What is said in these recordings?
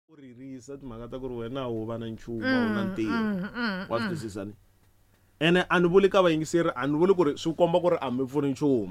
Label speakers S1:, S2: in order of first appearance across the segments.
S1: U ririsa timhaka ta ku ri wena a wu va na nchumu a wu na ntirho wa swi twisisa ni ene a ni vuli ka vayingiseri a ni vuli ku ri swi komba ku ri a mi pfuni nchumu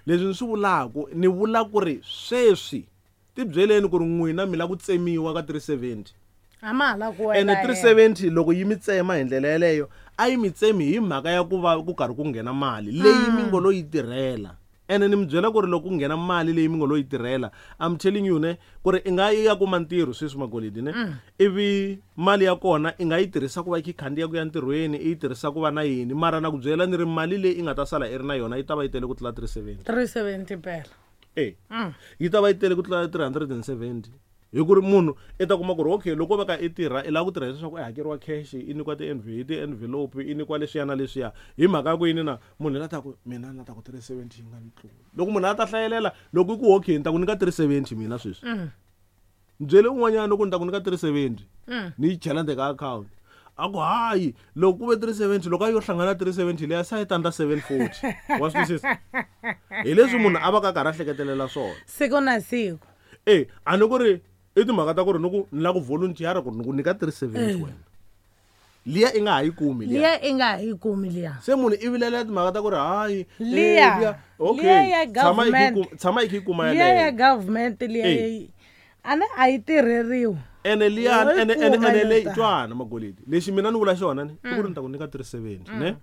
S1: leswi ni swi vulaku ni vula ku ri sweswi tibyeleni ku ri n'wina mi la ku tsemiwa ka 370
S2: a ma ha la ku
S1: ene
S2: wela
S1: 370 loko yi mi tsema hi ndlela yeleyo a yi mi tsemi hi mhaka ya ku va ku karhi ku nghena mali leyi mi ngo lo yi tirhela ene ni mi byela ku ri loko ku nghena mali leyi mi ngo lo yi tirhela I'm telling you ne ku ri i nga yi ya kuma ntirho sweswi magolidi ne ivi mali ya kona i nga yi tirhisa ku va yi khandziya ku ya ntirhweni i yi tirhisa ku va na yini mara na ku byela ni ri mali leyi i nga ta sala i ri na yona yi ta va yi tele ku tlula 370
S2: 370 phela
S1: e yi ta va yi tele ku tlula 370 hi ku ri munhu i ta kuma ku ri okay loko va ka i tirha i lava ku tirha leswaku i hakeriwa cash i nyikiwa ti-envelope i nyikiwa leswiya na leswiya hi mhaka ya ku yini na munhu la ta ku mina na ta ku 370 yi nga ni tluli loko munhu a ta hlayelela loko i ku okay ni ta ku nyika 370 mina sweswi ni byele un'wanyana loko ni ta ku nyika 370 ni yi chela ndzeni ka akhawunti a ku hayi loko ku ve 370 loko a yo hlangana 370 leya se a yi ta ndla 740 wa swi twisisa hi leswi munhu a va ka karhi a hleketelela swona
S2: siku na siku
S1: e a ni ku ri i timhaka ta ku ri ni ku ni lava ku volunteer ku ri ni ku nyika 370 wena liya i nga ha yi kumi liya
S2: liya i nga ha yi kumi liya
S1: se munhu i vilela timhaka ta ku ri hayi eh,
S2: Liya.
S1: okay
S2: Liya ya
S1: tshama i kha yi
S2: government.
S1: tshama i kha yi kuma
S2: liya ya
S1: yeleyo
S2: government liya
S1: Eh.
S2: yi- a ni a yi tirheriwi
S1: ene liya
S2: Wo yi
S1: ene ene
S2: kuma
S1: ene
S2: yo
S1: leyi
S2: ta.
S1: twana magolidi lexi mina ni vula xona ni i ku ri ni ta ku nyika 370 ne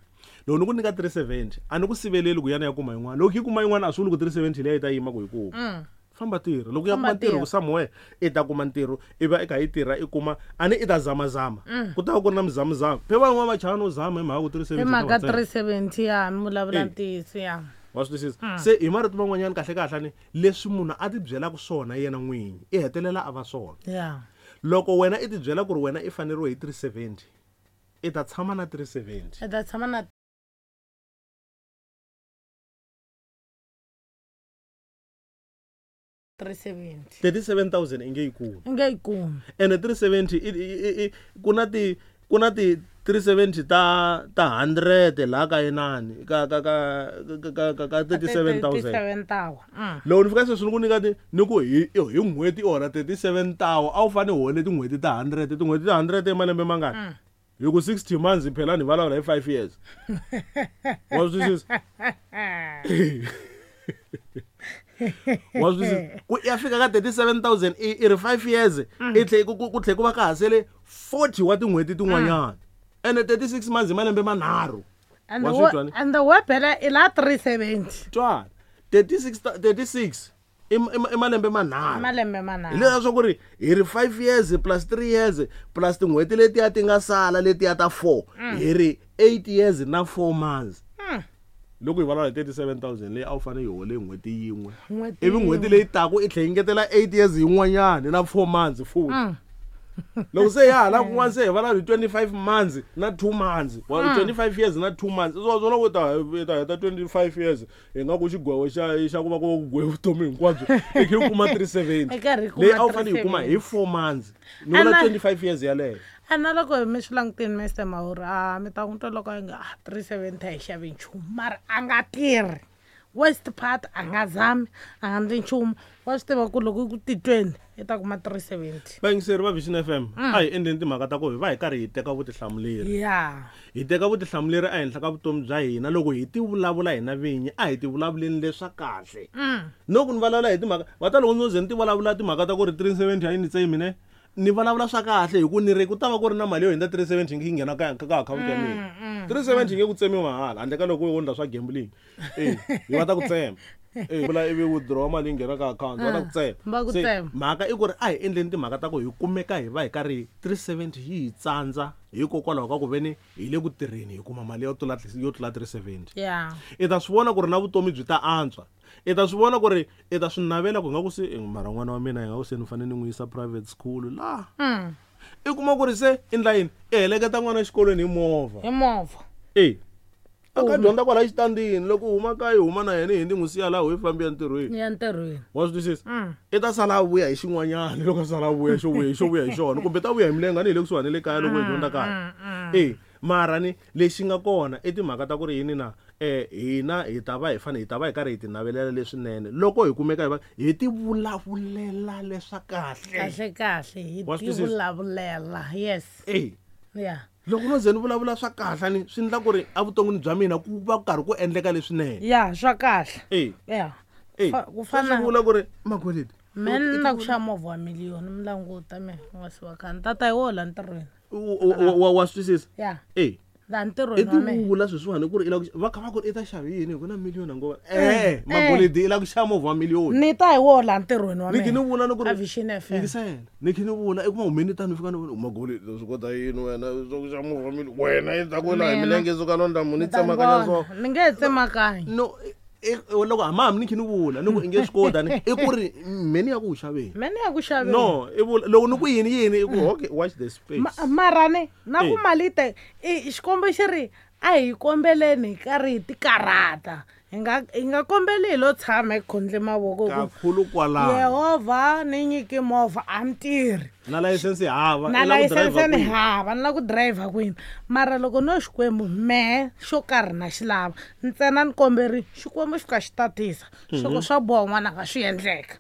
S1: loko ni ku nyika 370 a ni ku siveleli ku yana ya kuma yin'wana loko yi kuma yin'wana a swi vuli ku 370 leyi yi ta yima ku yi kuma famba tirha loko ya
S2: Famba
S1: kuma ntirho
S2: tirha.
S1: ku somewhere i ta kuma ntirho i va i kha yi tirha i kuma a ni i ta zamazama ku ta va ku ri na mizamazama phe van'wana va chava no zama hi mhaka ku 370
S2: hi mhaka
S1: ta va tsema.
S2: 370 ya mi vulavula
S1: Eh.
S2: ntiyiso ya
S1: wa swi twisisa se hi marito man'wanyana kahle kahle ni leswi munhu a ti byelaka swona yena n'winyi i hetelela a va swona
S2: ya
S1: loko wena i tibyela ku ri wena i faneriwe hi 370 i ta tshama na 370
S2: i ta tshama na 370
S1: 37000 i nge yi kumi
S2: i nge yi kumi
S1: ene 370 ku na ti ku na ti 370 ta 100 laha ka inani ka ka ka ka ka ka 37000
S2: 37000
S1: loko ni fika sweswi ni ku nyika ti ni ku hi hi n'hweti i hola 37 tawa a wu fane u hole tin'hweti ta 100 tin'hweti ta 100 i malembe mangani hi ku 60 months phela ni vulavula hi 5 years wa swi twisisa wa swi twisisa ku ya fika ka 37000 i ri 5 years i tlhe ku tlhe ku va ka ha sele 40 wa tin'hweti tin'wanyana ene 36 months hi malembe manharhu
S2: and
S1: Wa swi twa ni?
S2: and we phela i la 370
S1: twana 36 36 i malembe manharhu
S2: malembe
S1: hi
S2: manharhu
S1: leswiya swa ku ri hi ri 5 years plus 3 years plus tin'hweti letiya ti nga sala letiya ta 4 hi ri 8 years na 4 months loko hi vulavula hi 37000 leyi a wu fanele yi hole n'hweti yin'we
S2: N'hweti
S1: ivi n'hweti leyi taku i tlhe yi ngetela 8 years yin'wanyani na 4 months futhi loko se ya hala kun'wana se hi vulavula hi 25 months na 2 months wa 25 years na 2 months swo swona ku ta hi ta heta 25 years hi nga ku xigwevo xa ku va ku gwevo vutomi hinkwabyo i kha yi kuma 370
S2: I karhi yi kuma
S1: leyi a wu fanele yi kuma hi 4 months ni vula
S2: Ana-
S1: 25 years yaleyo
S2: a na loko mi swi langutini mr mahuri a mi ta n'wi twa loko a nga ah 370 a yi xavi nchumu mara a nga tirhi west part a nga zami a nga ndli nchumu wa swi tiva ku loko ku titweni i ta kuma 370
S1: vayingiseri va Vision FM a hi endleni timhaka ta ku hi va hi karhi hi teka vutihlamuleri
S2: ya
S1: hi teka vutihlamuleri ehenhla ka vutomi bya hina loko hi ti vulavula hina vinyi a hi ti vulavuleni leswa kahle no ku ni vulavula hi timhaka va ta loko ndzo ze ni ti vulavula timhaka ta ku ri 370 a yi ni tsemi ne ni vulavula swa kahle hi ku ni ri ku ta va ku ri na mali yo hundza 370 yi nghena ka akhawunti ya mina 370 yi nge ku tsemiwi mahala handle ka loko wo endla swa gambling e yi va ta ku tsema e vula ivi withdraw mali yi nghena ka akhawunti va ta ku tsema
S2: Va ku
S1: Se,
S2: tsema.
S1: mhaka i ku ri a hi endleni timhaka ta ku hi kumeka hi va hi karhi 370 yi hi tsandza hikokwalaho ka ku veni hi le ku tirheni hi kuma mali yo tlula 370
S2: ya
S1: i ta swi vona ku ri na vutomi byi ta antswa i ta swi vona ku ri i ta swi navela ku nga ku se eh, mara n'wana wa mina hi nga ku se ni fanele ni n'wi yisa private school laha i kuma ku ri se i ndla yini i heleketa n'wana exikolweni hi movha
S2: hi movha
S1: e a ka dyondza kwala xitandini loko u huma kaya i huma na yena hi ni n'wi siya laha hi fambi ya ntirhweni
S2: ya ntirhweni
S1: wa swi twisisa i ta sala a vuya hi xin'wanyana loko a sala a vuya xo vuya xo vuya hi xona kumbe ta vuya hi milenge a ni hi le kusuhani le kaya loko hi dyondza kaya e Mara ni lexi nga kona i timhaka ta ku ri yini na hina hi ta va hi fanele hi ta va hi karhi hi ti navelela leswinene loko hi kumeka hi va hi ti vulavulela leswa kahle.
S2: Kahle kahle hi
S1: Wa
S2: ti
S1: swi twisisa?
S2: vulavulela, yes.
S1: E
S2: Ya.
S1: Loko no ze ni vulavula swa kahle ni swi endla ku ri evuton'wini bya mina ku va ku karhi ku endleka leswinene.
S2: Ya, swa kahle.
S1: E
S2: Ya.
S1: E
S2: Ku
S1: swi
S2: fana
S1: vula ku ri magolidi
S2: me ni la ku xava movha wa miliyoni mi languta me nga si wa khani tata hi woho la ntirhweni.
S1: Wa swi twisisa?
S2: Ya.
S1: E
S2: La
S1: i
S2: ntirhweni wa mehe.
S1: tivula sweswiwani ku ri i lava ku va kha va ku ri i ta xava yini hi ku na miliyoni angova e magolidi i lava ku xava movha wa miliyoni.
S2: Ni ta hi woho la ntirhweni wa
S1: Ni khe ni
S2: mehe.
S1: vula ni ku ri
S2: A Vision FM.
S1: Yingisela, ni khe ni vula i kuma humeni tani fika ni vona magolidi swi kota yini wena swa ku xava movha wa miliyoni wena i ta ku la hi
S2: Mina.
S1: milenge suka londa munhu i
S2: Ni ta ni
S1: tsemakanya so.
S2: vona. Ni nge he tsemakanyi.
S1: No, loko hambi ni khe ni vula ni ku i nge swi kota ni i ku ri mheni ya ku wu xaveni.
S2: Me ni ya ku xaveni.
S1: No, i vula loko ni ku yini yini i ku okay, watch the space.
S2: Mara ni na ku
S1: Eh.
S2: mali te i xikombo xi ri a hi kombeleni hi karhi hi tikarhata, hi nga kombeli hi lo tshama hi khondle mavoko hi ku
S1: Kakhulu kwalano.
S2: Yehovha ni nyiki movha a ni tirhi.
S1: Na layisense hava,
S2: Na
S1: i la ku driver
S2: layisense ni
S1: kwini?
S2: hava, ni la ku driver kwini? Mara loko no Xikwembu mehe xo karhi na xi lava ntsena ni komberi Xikwembu xi fika xi tatisa swa swa boha n'wananga swi endleka.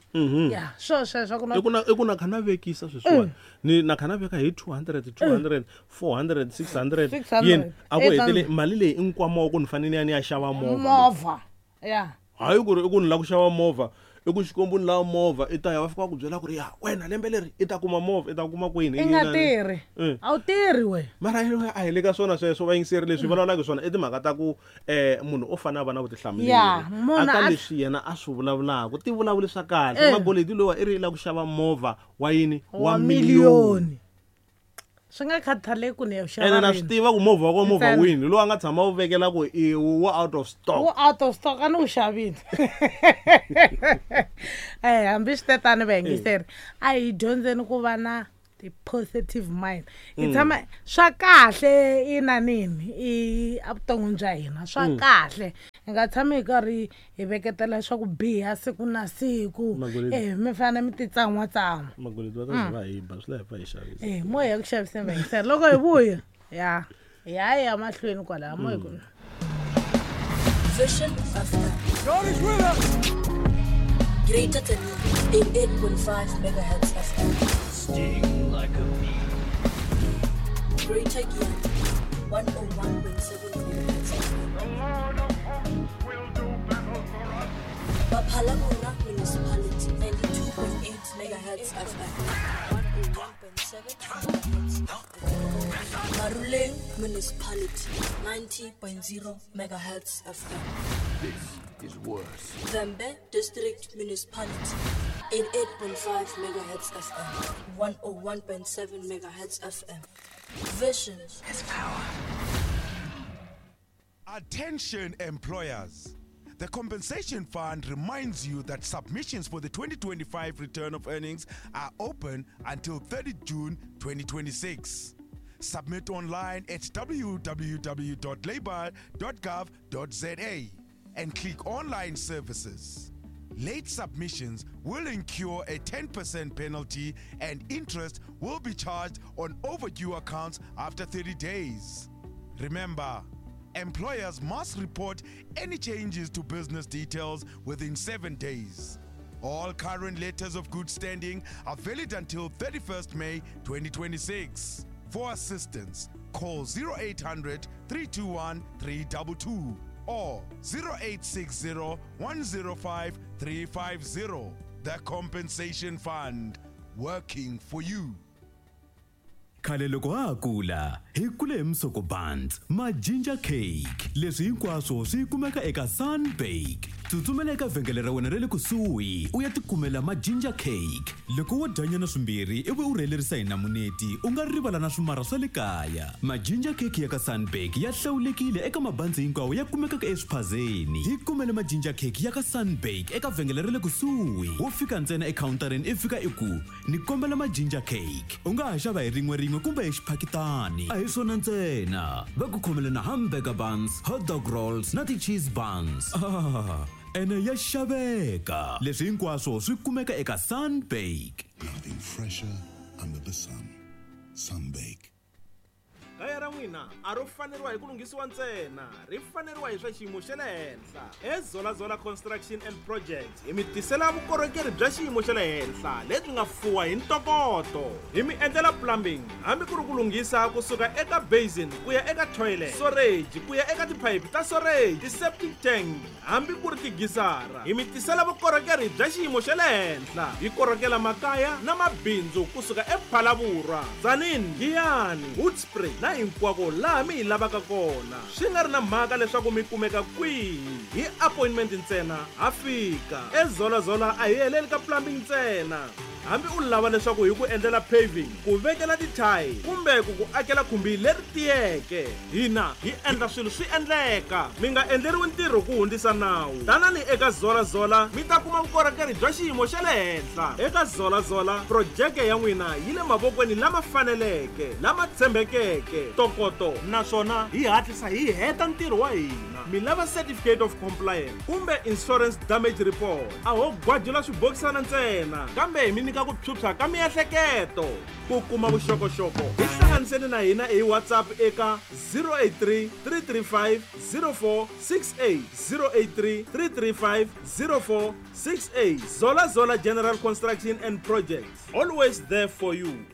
S2: Ya, swo sweswo ku na
S1: I ku na i ku na kha na vekisa sweswiwani ni na kha na veka hi 200 200 400 600
S2: 600,
S1: yini a ku hetele
S2: 800.
S1: mali leyi i nkwama wa ku ni fanele ni ya ni ya xava movha.
S2: Movha, ya.
S1: Hayi ku ri i ku ni lava ku xava movha i ku Xikwembu ni lava movha i ta ya va fika va ku byela ku ri ya wena lembe leri i ta kuma movha i ta kuma kwini
S2: I nga tirhi. A wu tirhi we.
S1: Mara a hi le ka swona sweswo vayingiseri leswi vulavulaka hi swona i timhaka ta ku munhu u fanele a va na vutihlamuleri
S2: Ya, munhu
S1: aka
S2: a
S1: leswi yena a swi vulavulaka ti vulavuli swa kahle. Magoledi lowa i ri i lava ku xava movha wa yini?
S2: Wa miliyoni. Swi nga khathaleki ku ni ya ku xava
S1: Ene na swi
S2: rini.
S1: tiva ku movha wa kona movha
S2: Ntsena.
S1: wini lowu a nga tshama wu vekela ku i wu out of stock.
S2: Wu out of stock, a ni wu xavile. Hambi swi tetani vayingiseri a hi dyondzeni ku va na ti-positive mind, hi tshama swa kahle i na nini i evuton'wini bya hina swa kahle, hi nga tshami hi karhi hi veketela swa ku biha siku na siku.
S1: Magolidi.
S2: E mi fanele mi titsan'watsan'wa.
S1: Magoledi va ta ze va hi ba swi la hi pfa hi xavisa.
S2: E mo hi ya ku xaviseni vayingiseri loko hi vuya ya hi ya hi ya mahlweni kwalaya mo hi ku
S3: Vision FM.
S4: God is with us.
S3: Greater than 88.5 megahertz FM.
S4: Sting like a bee.
S3: Greater Giyani, 101.7 megahertz FM.
S5: The Lord of hosts will do battle for us.
S3: Baphalabona Municipality, 92.8 megahertz FM. 101.7 megahertz FM. Maruleng Municipality, 90.0 megahertz FM.
S4: This is worse.
S3: Vhembe District Municipality, 88.5 megahertz FM, 101.7 megahertz FM. Vision
S4: Has power.
S6: Attention employers. The Compensation Fund reminds you that submissions for the 2025 return of earnings are open until 30 June 2026. Submit online at www.labour.gov.za and click Online Services. Late submissions will incur a 10% penalty and interest will be charged on overdue accounts after 30 days. Remember, employers must report any changes to business details within 7 days. All current letters of good standing are valid until 31st May 2026. For assistance, call 0800 321 322 or 0860 105 350. The Compensation Fund, working for you.
S7: Khale loko ha ha kula hi kule hi misoko buns ma ginger cake, leswi hinkwaswo swi kumeka eka Sunbake. Tsutsumela eka vhengele ra wena ra le kusuhi u ya tikumela ma ginger cake. Loko wo dyanyana swimbirhi ivi u rhelerisa hi namuneti, u nga rivala na swimara swa le kaya. Ma ginger cake ya ka Sunbake ya hlawulekile eka mabanzi hinkwawo ya kumekaka eswiphazeni. Hi kumele ma ginger cake ya ka Sunbake eka vhengele ra le kusuhi, wo fika ntsena ekhawuntareni i fika i ku ni kombela ma ginger cake. U nga ha xava hi rin'we rin'we kumbe hi xiphakitani. A hi swona ntsena, va ku khomele na hamburger buns, hot dog rolls na ti-cheese buns. Ah, ene ya xaveka. Leswi hinkwaswo swi kumeka eka Sunbake.
S8: Nothing fresher under the sun. Sunbake.
S1: Kaya ra n'wina a ro faneriwa hi ku lunghisiwa ntsena, ri faneriwa hi swa xiyimo xa le henhla. EZolazola Construction and Projects hi mi tisela vukorhokeri bya xiyimo xa le henhla lebyi nga fuwa hi ntokoto. Hi mi endlela plumbing hambi ku ri ku lunghisa kusuka eka basin ku ya eka toilet, storage ku ya eka tiphayiphi ta storage, ti-septic tank hambi ku ri tigisara. Hi mi tisela vukorhokeri bya xiyimo xa le henhla. Hi korhokela makaya na mabindzu kusuka ePhalaborwa, Tzaneen, Giyani, Hoedspruit na hinkwako laha mi hi lavaka kona. Swi nga ri na mhaka leswaku mi kumeka kwihi, hi appointment ntsena ha fika. EZolazola a hi heleli ka plumbing ntsena. Hambi u lava leswaku hi ku endlela paving, ku vekela tithayi kumbe ku ku akela khumbi leri tiyeke, hina hi endla swilo swi endleka. Mi nga endleriwi ntirho ku hundzisa nawu. Tanani eka Zolazola mi ta kuma vukorhokeri bya xiyimo xa le henhla. Eka Zolazola, projeke ya n'wina yi le mavokweni lama faneleke, lama tshembekeke, ntokoto naswona hi hatlisa hi heta ntirho wa hina. Mi lava certificate of compliance kumbe insurance damage report, a ho gwajula swibokisana ntsena, kambe hi mi nyika ku phyuphya ka miehleketo. Ku kuma vuxokoxoko hi hlanganiseni na hina hi WhatsApp eka 083 335 0468, 083 335 0468. Zola Zola General Construction and Projects, always there for you.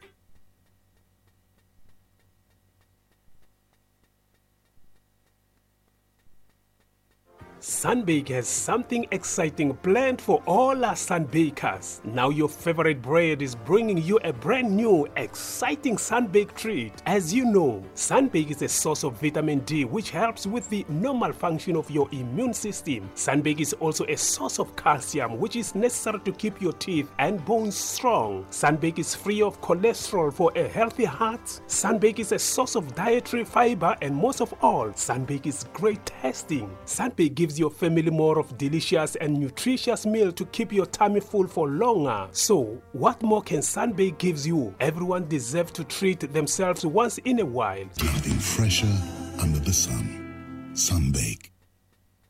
S8: Sunbake has something exciting planned for all our Sunbakers. Now your favorite bread is bringing you a brand new, exciting Sunbake treat. As you know, Sunbake is a source of vitamin D, which helps with the normal function of your immune system. Sunbake is also a source of calcium, which is necessary to keep your teeth and bones strong. Sunbake is free of cholesterol for a healthy heart. Sunbake is a source of dietary fiber, and most of all, Sunbake is great tasting. Sunbake gives your family more of delicious and nutritious meal to keep your tummy full for longer. So, what more can Sunbake gives you? Everyone deserves to treat themselves once in a while.
S9: Nothing fresher under the sun. Sunbake.